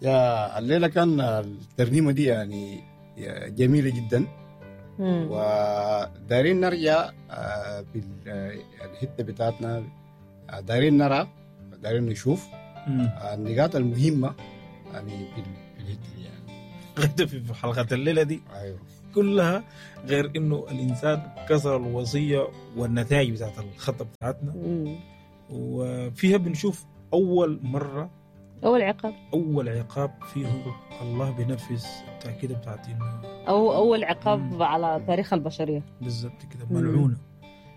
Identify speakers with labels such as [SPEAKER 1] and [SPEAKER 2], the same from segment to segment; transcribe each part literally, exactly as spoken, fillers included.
[SPEAKER 1] يا الليلة كان الترنيمة دي يعني جميلة جدا.
[SPEAKER 2] مم.
[SPEAKER 1] ودارين نرجع آه، بالحتة بتاعتنا، آه، دارين نرى، دارين نشوف
[SPEAKER 3] مم.
[SPEAKER 1] آه، النقاط المهمة يعني في في الحتة دي يعني.
[SPEAKER 3] غدا في حلقة الليلة دي
[SPEAKER 1] ايوه
[SPEAKER 3] كلها غير انه الانسان كسر الوصية والنتائج بتاعت الخطة بتاعتنا،
[SPEAKER 2] مم.
[SPEAKER 3] وفيها بنشوف اول مرة
[SPEAKER 2] اول عقاب،
[SPEAKER 3] اول عقاب فيه الله بينفذ التاكيد بتاعت انه
[SPEAKER 2] او اول عقاب
[SPEAKER 3] مم.
[SPEAKER 2] على تاريخ البشرية.
[SPEAKER 3] بالضبط كده
[SPEAKER 2] مم.
[SPEAKER 3] ملعونة،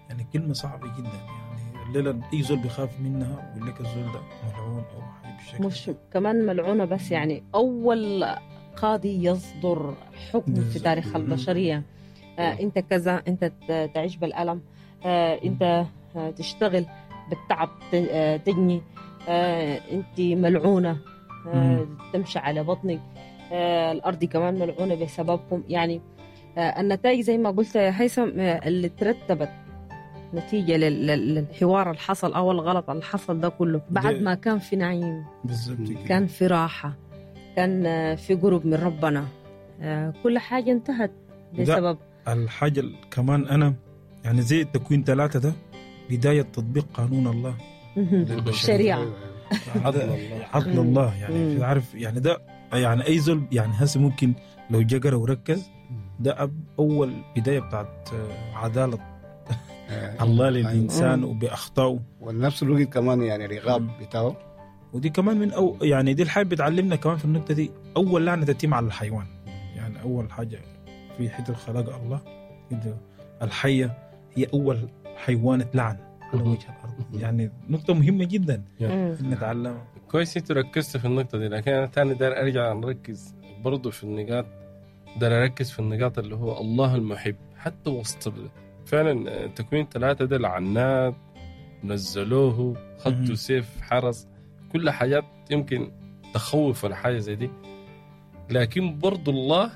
[SPEAKER 3] يعني كلمة صعبة جدا. يعني الليلة اي زول بيخاف منها ويقول لك الزول ده ملعون او حاجة بالشكل
[SPEAKER 2] مش كمان ملعونة بس، يعني اول قاضي يصدر حكم في
[SPEAKER 3] بالضبط.
[SPEAKER 2] تاريخ
[SPEAKER 3] مم.
[SPEAKER 2] البشرية. آه انت كذا، انت ت- تعيش بالالم، آه انت آه، تشتغل بالتعب، ت- آه، تجني، آه انت ملعونة، آه تمشي على بطنك، آه الارض كمان ملعونة بسببكم. يعني آه النتائج زي ما قلت يا هيثم، آه اللي ترتبت نتيجة لل- لل- للحوار اللي حصل او الغلط اللي حصل ده كله، بعد
[SPEAKER 3] ده-
[SPEAKER 2] ما كان في نعيم،
[SPEAKER 3] بالضبط كده.
[SPEAKER 2] كان في راحة، كان آه، في قرب من ربنا، آه، كل حاجة انتهت بسبب
[SPEAKER 3] الحاجة ال- كمان انا يعني زي التكوين ثلاثة ده بداية تطبيق قانون الله
[SPEAKER 2] مهم. شريعة.
[SPEAKER 1] أيوة، أيوة.
[SPEAKER 3] عدل
[SPEAKER 4] الله.
[SPEAKER 3] عدل
[SPEAKER 2] مم.
[SPEAKER 3] الله يعني
[SPEAKER 2] مم.
[SPEAKER 3] عارف يعني ده يعني اي زول يعني هسه ممكن لو جقر وركز ده أب- اول بداية بتاعت آه، عدالة
[SPEAKER 1] آه،
[SPEAKER 3] الله للانسان
[SPEAKER 2] مم.
[SPEAKER 3] وباخطائه،
[SPEAKER 1] ونفس الوقت كمان يعني العقاب
[SPEAKER 3] مم.
[SPEAKER 1] بتاعه.
[SPEAKER 3] ودي كمان من أو يعني دي الحاجة بتعلمنا كمان في النقطة دي اول لعنه تتم على الحيوان. يعني اول حاجة في حتة خلق الله كده الحية هي اول حيوان اتلعن على وجه الارض. يعني نقطة مهمة جدا
[SPEAKER 2] مم.
[SPEAKER 3] نتعلمها.
[SPEAKER 4] كويس انتوا ركزتوا في النقطة دي، لكن أنا تاني داير أرجع نركز برضو في النقاط، داير أركز في النقاط اللي هو الله المحب حتى وسط ال- فعلا تكوين ثلاثة ده لعنات نزلوه،
[SPEAKER 3] مهم.
[SPEAKER 4] خطوا سيف حرس، كل حاجات يمكن تخوف ولا حاجة زي دي، لكن برضو الله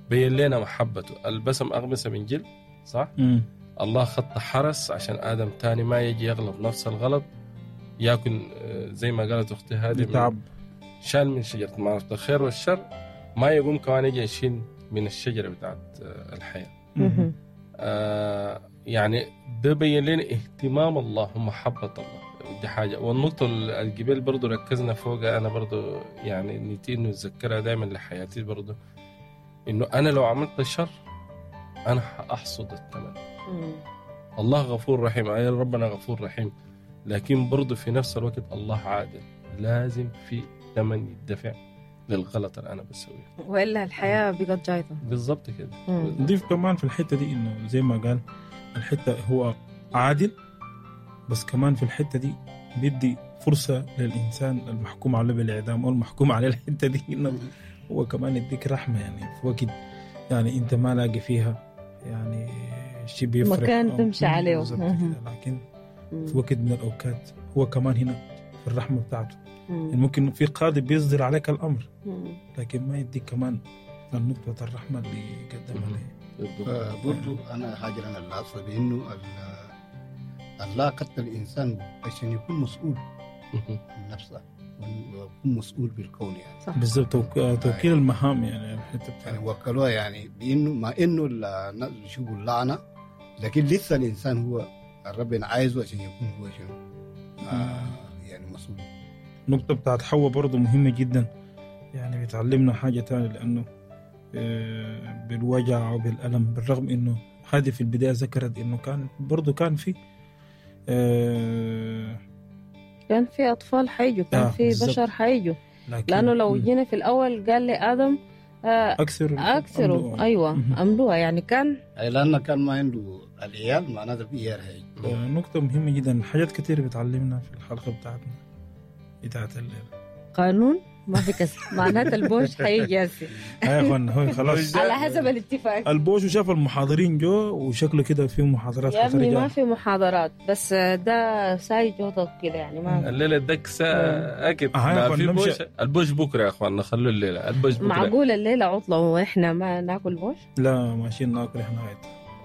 [SPEAKER 4] بين لنا محبته. البسم أغمسة من جلد، صح؟
[SPEAKER 3] مم.
[SPEAKER 4] الله خط حرس عشان آدم تاني ما يجي يغلط نفس الغلط، ياكل آه، زي ما قالت أختي هذه من-
[SPEAKER 3] تعب
[SPEAKER 4] شال من شجرة معرفة الخير والشر، ما يقوم كمان يجي يشيل من الشجرة بتاعت آه، الحياة.
[SPEAKER 2] مهم.
[SPEAKER 4] آه يعني ده بين لنا اهتمام الله ومحبة الله، دي حاجة. والنقطة الجبال برضو ركزنا فوقها، أنا برضو يعني نيتي إنه أتذكرها دائما لحياتي برضو، إنه أنا لو عملت الشر أنا حأحصد الثمن.
[SPEAKER 2] مم.
[SPEAKER 4] الله غفور رحيم، أي ربنا غفور رحيم، لكن برضو في نفس الوقت الله عادل، لازم في ثمن يدفع للغلط اللي أنا بسويه.
[SPEAKER 2] والا الحياة بقت جايطه.
[SPEAKER 4] بالضبط كده.
[SPEAKER 2] مم.
[SPEAKER 3] نضيف كمان في الحتة دي انه زي ما قال الحتة هو عادل، بس كمان في الحتة دي بيدي فرصة للانسان المحكوم عليه بالاعدام او المحكوم عليه الحتة دي انه هو كمان يديك رحمه، يعني في وقت يعني انت ما لاقي فيها يعني شيء بيفرق
[SPEAKER 2] مكان
[SPEAKER 3] أو-
[SPEAKER 2] تمشي عليه.
[SPEAKER 3] بالضبط كده. لكن
[SPEAKER 2] مم.
[SPEAKER 3] في وقت من الاوقات هو كمان هنا في الرحمة بتاعته،
[SPEAKER 2] مم.
[SPEAKER 3] يعني ممكن في قاضي بيصدر عليك الامر
[SPEAKER 2] مم.
[SPEAKER 3] لكن ما يديك كمان النقطة الرحمة اللي قدمها
[SPEAKER 4] مم.
[SPEAKER 3] ليه.
[SPEAKER 4] بالضبط.
[SPEAKER 1] آه، برضو انا حاجة انا لاحظتها بانه ال- الله قتل الانسان عشان يكون مسؤول عن نفسه ويكون مسؤول بالكون يعني.
[SPEAKER 2] صح.
[SPEAKER 3] بالضبط، توك- توكيل المهام يعني الحتة
[SPEAKER 1] يعني
[SPEAKER 3] بتاعت
[SPEAKER 1] وكلوها يعني بانه مع انه الناس بيشوفوا اللعنة، لكن لسه الانسان هو الرب عايزه عشان يكون هو شنو آه يعني مسؤول.
[SPEAKER 3] النقطة بتاعت حواء برضو مهمة جدا، يعني بتعلمنا حاجة تانية، لانه آه، بالوجع وبالالم، بالرغم انه هذه في البداية ذكرت انه كان برضو كان في آه،
[SPEAKER 2] كان في اطفال حيجوا، كان
[SPEAKER 3] آه،
[SPEAKER 2] في
[SPEAKER 3] بالضبط.
[SPEAKER 2] بشر حيجوا،
[SPEAKER 3] لكن
[SPEAKER 2] لانه لو
[SPEAKER 3] مم.
[SPEAKER 2] جينا في الاول قال لي ادم آه،
[SPEAKER 3] اكثر
[SPEAKER 2] اكثروا،
[SPEAKER 3] أملوها.
[SPEAKER 2] ايوه
[SPEAKER 3] مهم.
[SPEAKER 2] املوها، يعني كان
[SPEAKER 1] أي لانه كان ما عنده العيال معناته في عيال هي.
[SPEAKER 3] آه، نقطة مهمة جدا، حاجات كتير بتعلمنا في الحلقة بتاعتنا بتاعت الليلة.
[SPEAKER 2] قانون ما في كسر، معناته البوش حيجي هسي
[SPEAKER 3] يا اخوان هو خلاص
[SPEAKER 2] على حسب الاتفاق.
[SPEAKER 3] البوش وشاف المحاضرين جو وشكله كده في محاضرات
[SPEAKER 2] يا ابني ما
[SPEAKER 3] خطرة.
[SPEAKER 2] في محاضرات، بس ده ساي جوطة كده يعني ما
[SPEAKER 4] الليلة الدكسه اكيد
[SPEAKER 3] آه، يا
[SPEAKER 4] لا
[SPEAKER 3] أخوان،
[SPEAKER 4] في
[SPEAKER 3] نمشي.
[SPEAKER 4] بوش، البوش بكره يا اخوان، خلوا الليلة البوش بكره.
[SPEAKER 2] معقولة الليلة عطلة واحنا ما ناكل بوش؟
[SPEAKER 3] لا ماشيين ناكل احنا غاية.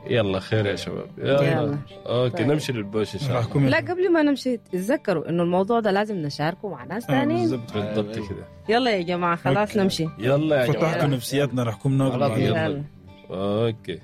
[SPEAKER 4] يلا خير يا شباب، يلا,
[SPEAKER 2] يلا.
[SPEAKER 4] okay
[SPEAKER 2] طيب.
[SPEAKER 4] نمشي للبوش ان شاء الله.
[SPEAKER 3] راحكم
[SPEAKER 2] لا قبل ما نمشي تتذكروا انه الموضوع ده لازم نشاركه مع ناس ثانيين.
[SPEAKER 3] بالضبط.
[SPEAKER 4] بالضبط كده.
[SPEAKER 2] يلا يا جماعة خلاص
[SPEAKER 3] okay.
[SPEAKER 2] نمشي.
[SPEAKER 4] يلا يا
[SPEAKER 3] فتحتوا
[SPEAKER 4] جماعة.
[SPEAKER 3] نفسياتنا، راحكم ناكل
[SPEAKER 1] خلاص،
[SPEAKER 3] بعدين.
[SPEAKER 4] يلا.
[SPEAKER 2] يلا.
[SPEAKER 4] okay.